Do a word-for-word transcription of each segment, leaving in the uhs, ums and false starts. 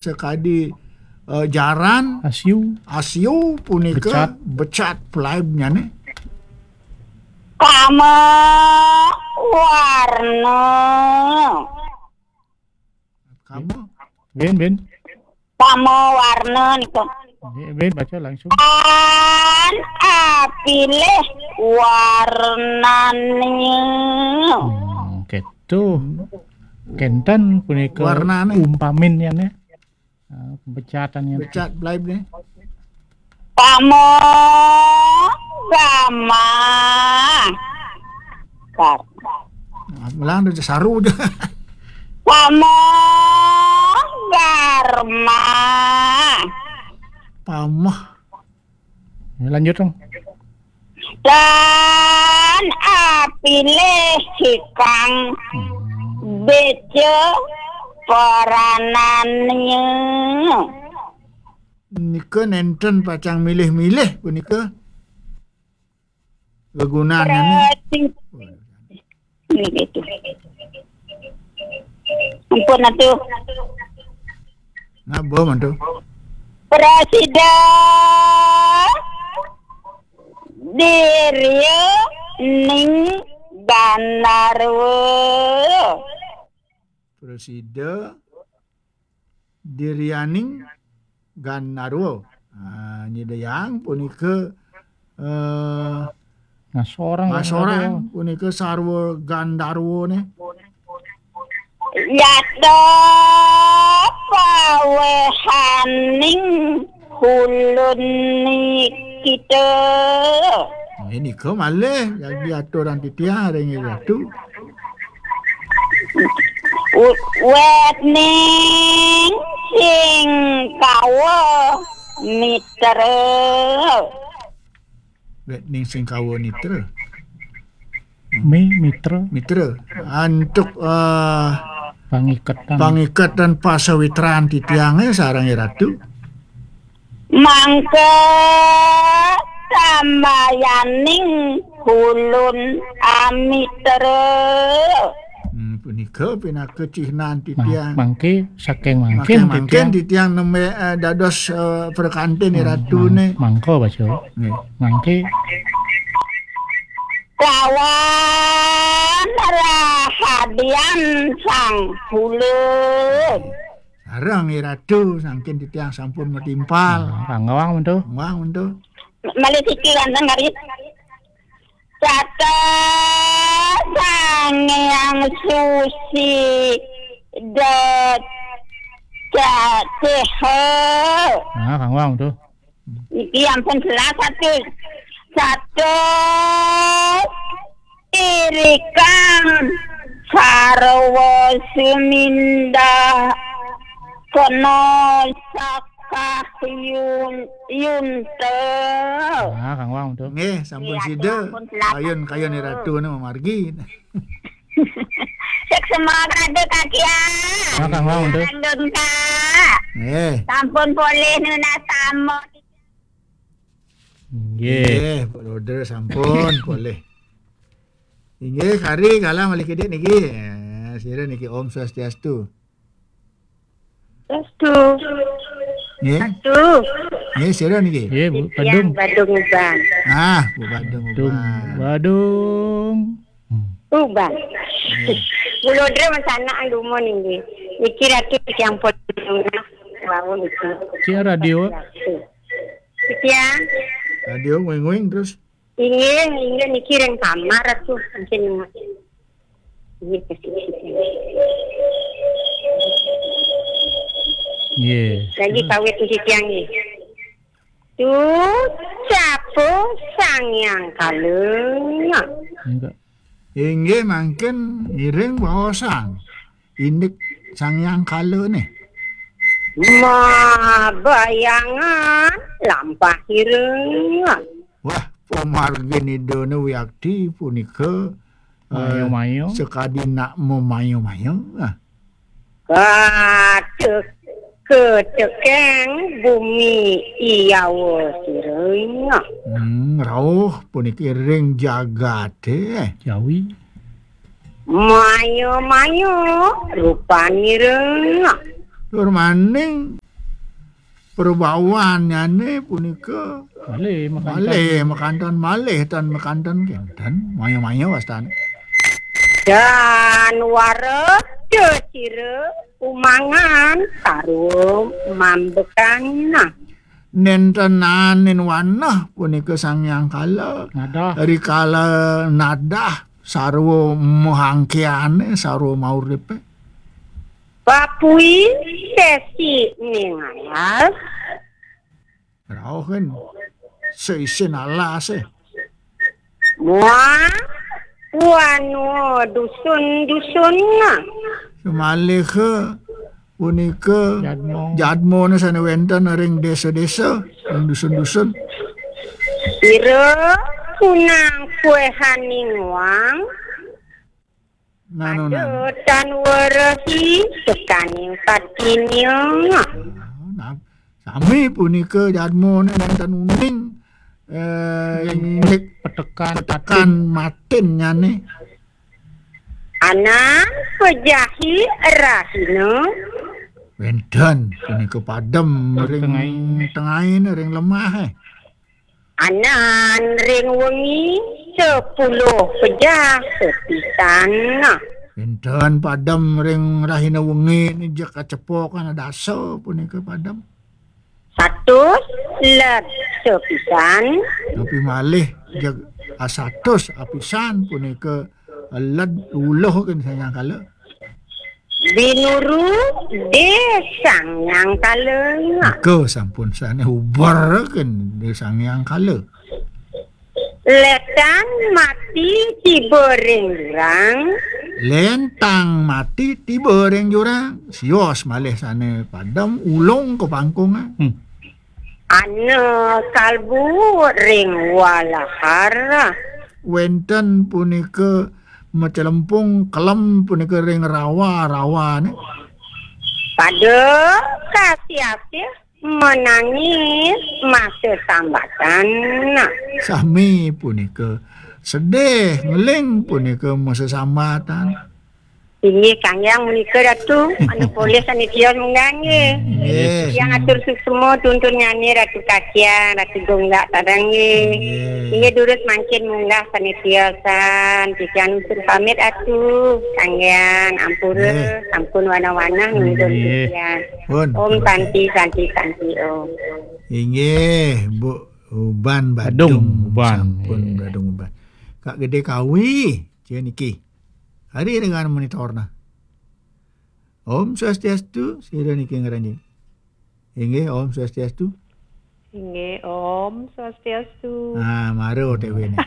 sakadi, eh, jaran, asiu, asiu punika becat, becat plaibnyané. Kama warna. Kama. Bin, bin. Kama warna nika. Bin, bin, baca langsung. Tan apilih warnanya. Hmm, gitu. Kénten punika warnané. Umpamin ya, nih. Ah, pemecatan ya. Pecat, belaib nih. Pamo gama. Kar. Nah, ulang tuh, saru aja. Pamo garma. Pamah. Ya, lanjut dong. Dan apilih hikang, hmm, beca peranannya. Nika nénten pacang milih-milih punika. Gegunannya. Berarti ini gitu. Ampun atuh. Nah, bo mantu. Prasida dirya ning gandarwa. Prasida diryaning gandarwa. Ah, nyidayang punika, eh, ngasorang, ngasorang gandarwa. Punika sarwa gandarwane. Yata pawehaning hulun kita. Nah, ini ke malih yang diaturang titiang ring ratu. U-, wetning sing kawa mitra. Wetning sing kawa nitra. Mi-, mitra. Mitra. Antuk, eh, pangiketan. Pangiketan pasawitran titiangé sareng ratu. Mangka tambayaning hulun amitra. Hmm, punika pinaka cihnan titiang. Mang-, mangke saking mangkin, saking mangkin titiang, titiang nembé, eh, dados, eh, prakantin, hmm, ratuné. Mang-, mangka baca. Nggih. Mangke. Kawan rahadian sang hulun. Sareng, Ih Ratu, saking titiang sampun matimpal. Hmm, panggawang mentu. Panggawang mentu. Malih siki wénten kari. Sata Sang Hyang Susi da cacih. Nah, panggawang mentu. Niki ampun jelas atuh. Sata irikang sarwa sumindah kena sakah yun-, yunta. Nah, kang wau tuh. Nggih, sampun. Iya, sida. Sampun jelas. Kayun, kayun Ih Ratu nu mamargi. Sek semoga ada Kak Kia. Nah, kang wau tuh. Langgeng, Kak. Nggih. Sampun polih nunas tamu. Nggih. Nggih, Pak Roder sampun polih. Inggih, kari galah malih kidik niki. Eh, sira niki Om Swastiastu. Swastiastu. Nggih. Swastiastu. Nggih, sira niki. Nggih, Bu Badung. Badung Uban. Ah, Bu Badung Badung Uban. Badung. Hmm. Uban. Nggih. Kula Dre masanak dumun inggih. Niki Ratu titiang pun wau niki. Cik radio. Titiang. Radio nguing-nguing terus. Inggih, inggih niki ring kamar atuh, mungkin. Inggih, pasti. Nggih. Lagi kawit niki tiang nggih. Tu capo Sang Hyang Kala. Enggak. Inggih mangkin iring baosang. Indik Sang Hyang Kala nih. Mabayangan lampah ireng. Wah, pamargin Idane wiakti punika, eh, mayo-mayo. Sakadi nak mamayo-mayo. Ah. Katek-, katekeng bumi Iyawa sira. Hmm, rauh puniki ring jagate. Jawi. Mayo-mayo rupanira. Tur maning prabawannyané punika malih makanten. Malih makanten, malih tan makanten kénten, maya-maya wastane. Dan wara cecira umangan sarwa mambekan. Nénten anin wanah punika Sang Hyang Kala. Nadah. Rikala nadah sarwa mahangkiane, sarwa mauripe. Papui sesi ning alas. Rauh kan. Seisin alas, eh. Muah wanu dusun-dusun. Semaliha punika jadmone sane wenten ring desa-desa, ring dusun-dusun. Ira kunang kuehaning wang. Nanu, nanu. Ada tan werehi sekaning patinya. Nah, sami punika jadmone nenten uning, eh, indik petekan, petekan matinnyane. Anang pejahi rahina. Wenten punika padem ring tengahine, ring lemahe. Anan ring wengi sepuluh pejah sepisan. Wenten padem ring rahina wengi nijek kacepokan dasa punika padem. Satus led sepisan. Tapi malih jeg asatus apisan punika led uluh kan sanyangkala. Binuru de Sang Hyang Kala. Nika sampun sane uber kan de Sang Hyang Kala. Letan mati tiba ring jurang. Lentang mati tiba ring jurang. Sios malih sane padem ulung ka pangkungan. Hmm. Ana kalbu ring walahar. Wenten punika macelempung kelem punika ring rawa-rawane. Pada kasih-asih menangis masa sambatan. Sami punika sedih, ngeling punika masa sambatan. Inggih, Sang Hyang menika Datu, anu polih sane tios munggah nggih. Nggih. Tiang atur suksma tuntunnyane Ratu Kacang, Ratu Gonggak sareng nggih. Nggih. Inggih, durus mangkin munggah sane tiosan, titiang nutur pamit Atu, Sang Hyang ampura, nggih, sampun wanah-wanah nuntun nggih, titiang. Pun, Om pun. Santi, Santi, Santi, Om. Inggih, Bu Uban Badung, Badung Uban, sampun nggih. Badung Uban. Kak Gede Kawi, cia niki. Hari dengan monitorna. Om Swastiastu, sira niki ngranjing. Inggih, Om Swastiastu. Inggih, Om Swastiastu. Ah, mara O T W ne.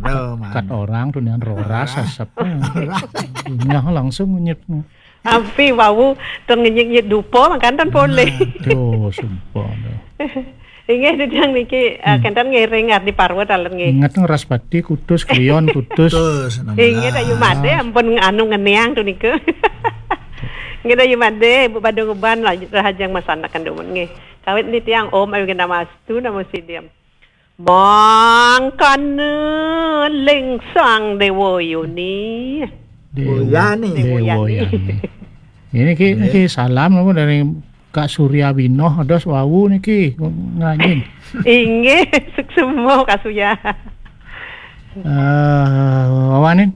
Mara, kat mara. Orang tu nian roras asap. Roras. Nyah langsung nyet. Ampi wau ten ngenyek-nyek dupa makan ten poleh. Aduh, sumpah dah. Inggih, titiang niki, eh, hmm, kenten ngiring Ardi Parwa taler nggih. Ingat Ngeraspati kutus, Kliwon kutus. Kutus, enam belas. Inggih, Dayu Made ampun anu ngeniang tu nika. Inggih, Dayu Made, Ibu Badung Uban, lanjut rahajeng masanakan dumun nggih. Kawit nitiang Om Ayu Genamastu, Namo Siddham. Mangkana ling Sang Dewa Yoni. Dewa, Dewa Yani. Dewa Yani. Yani. Ini ki, nggih, niki salam napa dari Kak Surya Binoh, dos wau niki ngranjing. Inggih, suksma Kak Surya. Eh, wawanin?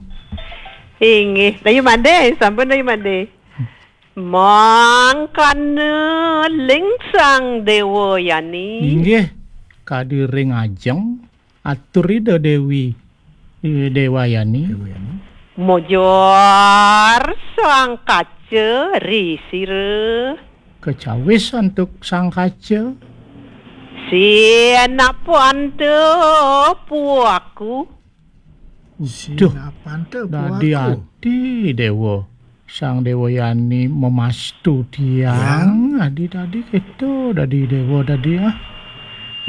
Inggih, Dayu Made, sampun Dayu Made. Mangkana ling Sang Dewa Yani. Inggih, kadi ring ajeng atur Ida Dewi, eh, Dewa Yani. Dewa Yani. Mojor Sang Kaca ri sira. Kecawis antuk Sang Kaca. Sinapanta puaku. Duh, sinapanta dadi puaku. Ati Dewa. Sang Dewa Yani memastu tiang. Ya. Adi dadi keto dadi Dewa dadi, ah.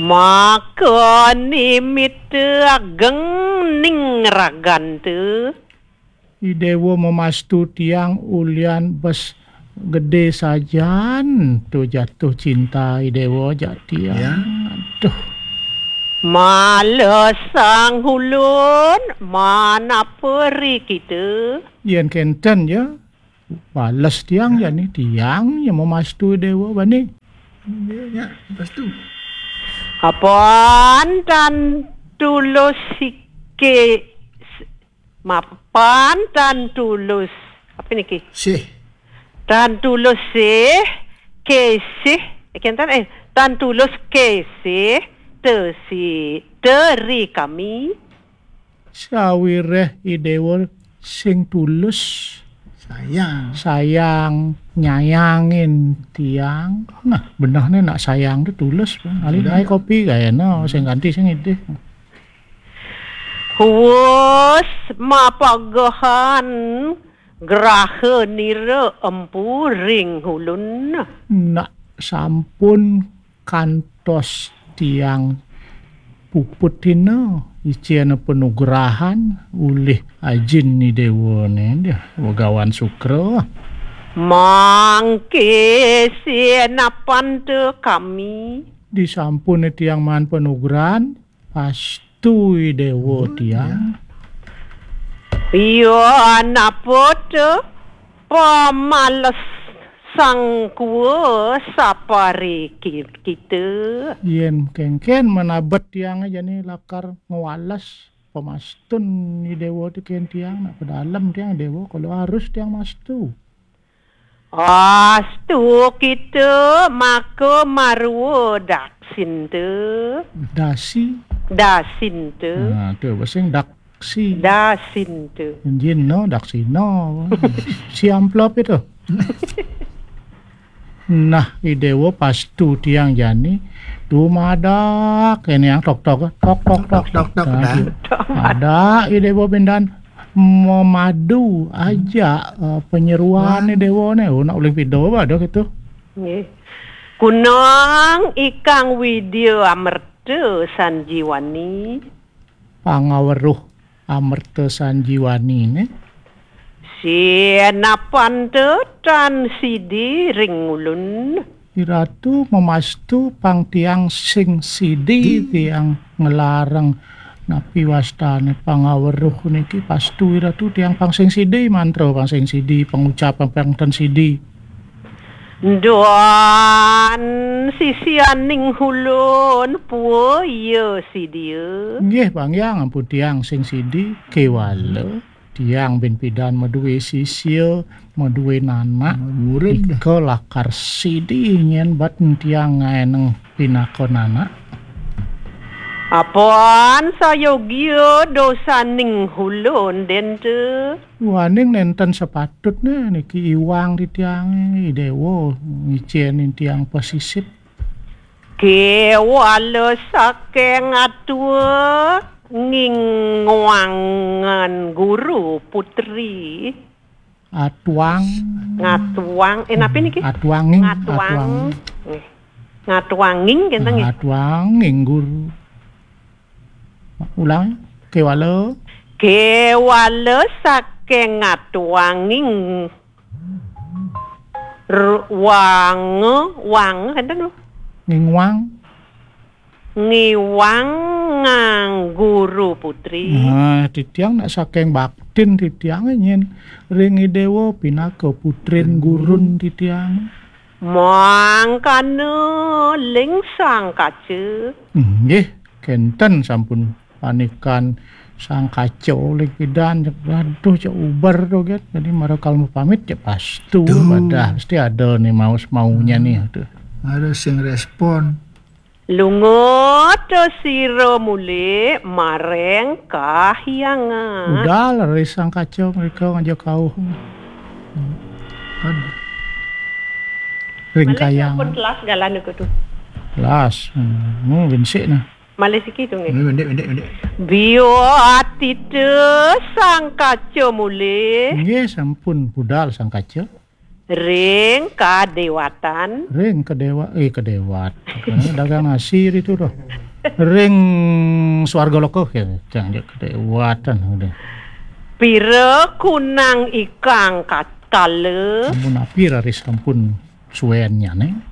Maka nimita ageng ning raganta. I Dewa memastu tiang ulian bes gede sajan tu jatuh cinta I Dewa jak tiang. Ya. Aduh. Mala sang ulun manapa ri kita? Yen kenten ya, Bales tiang jani, tiang ya mamastu Déwa bani. Nggih, nya, pastu. Apan tan tulus sike, mapan tan tulus. Apa niki? Sih. Tan tulus sih, kesih. Eh, kenten, eh, tan tulus kesih, tesi, teri kami. Sawiréh I Déwa sing tulus. Sayang. Sayang, nyayangin tiang. Nah, benehné nak sayang tu tulus, Bang. Ali Sudah. Naik kopi gaya no, sing ganti sing idih. Huwus mapagehan graha nira empu ring ulun. Nak sampun kantos tiang puput tina, icén panugrahan ulih ajin I Déwané, dia Begawan Sukra. Mangké sinapanta kami. Disampun tiang maan panugrahan, pastu I Déwa tiang. Iya, napa tu pamales sangkua sapari ki-, kita? Yén kénkén manabet tiang jani lakar ngwales pamastun I Déwa tu kén tiang, nak pedalem tiang Déwa, kalau harus tiang mastu. Astu kita maka marwa daksinta. Dasi. Dasinta. Nah, tu basing daksi. Dasinta. Jin no, daksina. Si amplop itu. Nah, I Déwa pastu tiang jani. Tu madak, ini yang tok tok, tok tok tok. Tok, tok, tok, nah, dah. Tu. Madak, I Déwa pindan. Memadu aja, eh, penyeruan ni Déwa ni. Oh, nak ulih pido ba ada gitu. Nggih. Kunang ikang Widya Amerta Sanjiwani. Pangaweruh Amerta Sanjiwani ni. Sinapanta tan sidi ring ulun. I Ratu mamastu pang tiang sing sidi, tiang nglarang napi wastané pangaweruh niki pastu I Ratu tiang pang sing sidi, mantra pang sing sidi, pangucapan pang tan sidi. Duan sisianing ulun pua iya sidia. Nggih, Bang Hyang, ampun tiang sing sidi, kéwala. Tiang bin pidan madué sisia, madué nanak. Murid. Ika lakar sidi nyén bat tiang ngaéneng pinaka nanak. Apan sayogia dosaning ulun dén tu. Waning nénten sepatutné niki iwang titiangé, I Déwa ngicénin tiang pasisip. Kéwala saking atua ngingwangan guru putri. Atuang. Ngatuang. Eh, napi niki? Atuanging. Ngatuang. Atuang. Nggih. Ngatuanging kenten nggih. Atuanging guru. Ulang. Kéwala. Kéwala saking ngatuanging Ru-, wang, wang, enten lho. Ngingwang. Ngiwang ngang guru putri. Nah, titiang nak saking baktin titiang nyén ring I Déwa pinaka putrin gurun titiang. Mangkana ling sang kaca. Nggih, kenten sampun panikan sang kaca olih pidan, cek, aduh, cek uber to, get. Jadi, mara kal mau pamit, cek pastu, tuh. Badah, mesti ada nih maus maunya nih, tuh. Ada sing respon. Lunga to sira muli mareng kahyangan. Udah, leris sang kaca mereka ngajak kau. Kan. Ring kayang. Pun telas galan aku tuh. Telas. Hmm, hmm, bensik nah. Malih siki tu nggih. Nggih, pendek, pendek, pendek. Bio atita sang kaca mulih. Nggih, sampun budal sang kaca. Ring kadewatan. Ring kadewa-, eh, kadewat. Dagang nasi itu tuh. Ring swarga loka, ya, jangan kadewatan udah. Pira kunang ikang katkala. Sampun api raris sampun suennya, neng.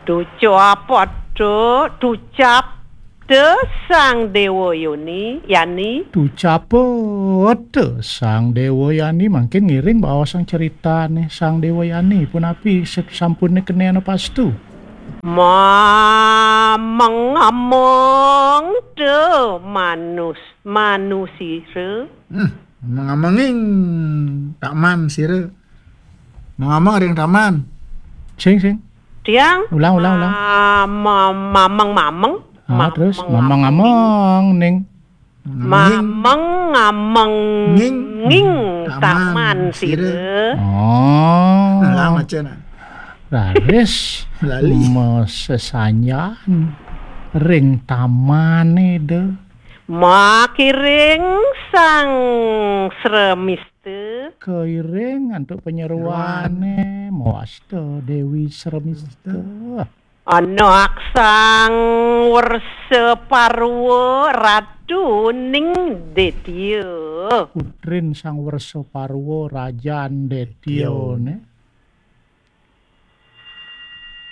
Tucap pada, tucap Te Sang Dewa Yoni, Yani. Tucapet Sang Dewa Yani, mangkin ngiring baosang ceritane Sang Dewa Yani. Punapi, sep-, sampune kene anapastu? Mameng-ameng te manus-, manusira. Hmm, mengamenging taman sira. Mengameng ring taman. Sing, sing. Tiang? Ulang, ulang, ulang. Ma-, ma-, mameng-mameng. Ah, terus? Mameng-mameng. Mameng-ameng, ning. Mameng-ameng. Nging. Nging. Taman. Taman sira. Sira. Oh. Nah, lama, Cen. Raris. Lali. Masesanjan ring tamane, de. Makiring Sang Sremista. Kairing antuk panyeruane, mawasta Dewi Sremista. Anak Sang Wersa Parwa, Ratu ning Detya. Putrin Sang Wersa Parwa, Rajan Detya, ne.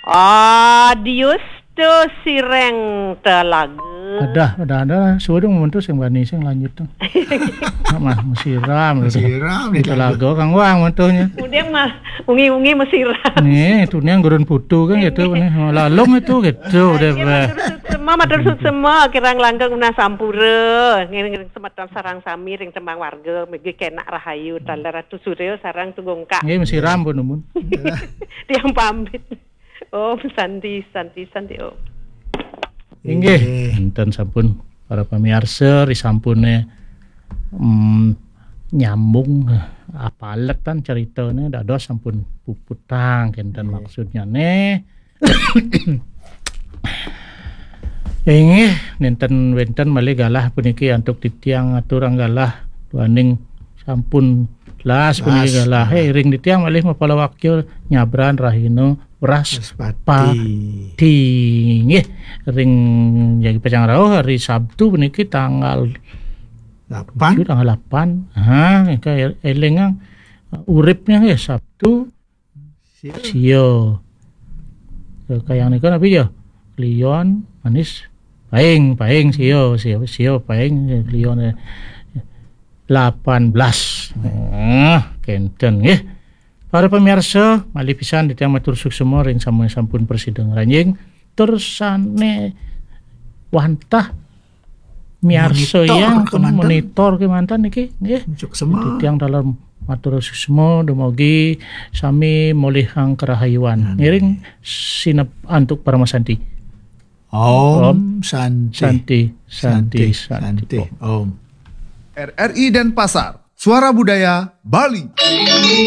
Adiusta sireng telaga. Adah, adah, adah. Suwe dong, mentu sing bani sing lanjut tuh. Mah, mesiram gitu. Mesiram di telaga, Kang Wang, mentunya. Kemudian mah ungi-ungi mesiram. Nih, itu nih yang gurun putu kan gitu, nih. Lalung itu gitu, deh, matur suksma, matur suksma, kirang langkung menawi sampura. Ngiring semeton sareng sami ring tembang warga, megi kenak rahayu, tanda Ratu Surya sareng Tugongkak. Nggih, mesiram pun, numun. Tiang pamit. Om Santi, Santi, Santi Om. Inggih, enten sampun para pamiarsa, risampune, mm, nyambung, eh, apaletan ceritane, dados sampun puputang kenten maksudnyane. Inggih, nenten wenten malih galah puniki antuk titiang aturang galah duaning sampun las puniki galah. Eh, ring titiang malih mapalawakya nyabran rahina Wraspati. Wraspati. Nggih, ring jagi pacang rauh hari Sabtu puniki tanggal delapan. Tujuh, tanggal delapan. Ha, engke elingang uripnya nggih Sabtu. Sio. Sio. Kayang nika napi ya? Kliwon, manis, paing, paing, sio, sio, sio, paing, kliwon, eh, delapan belas. Nah, kenten nggih. Para pemirsa, malih pisan titiang matur suksma ring sampun, sampun prasida ngranjing. Tur sane wantah miarsa monitor yang kemanten. Monitor kemanten niki, nggih. Suksma. Titiang taler matur suksma, dumugi sami molihang karahayuan. Amin. Ngiring sineb antuk paramasanti. Om, Om Santi, Santi, Santi, Santi, Santi. Om. Om. R R I Denpasar, Suara Budaya Bali.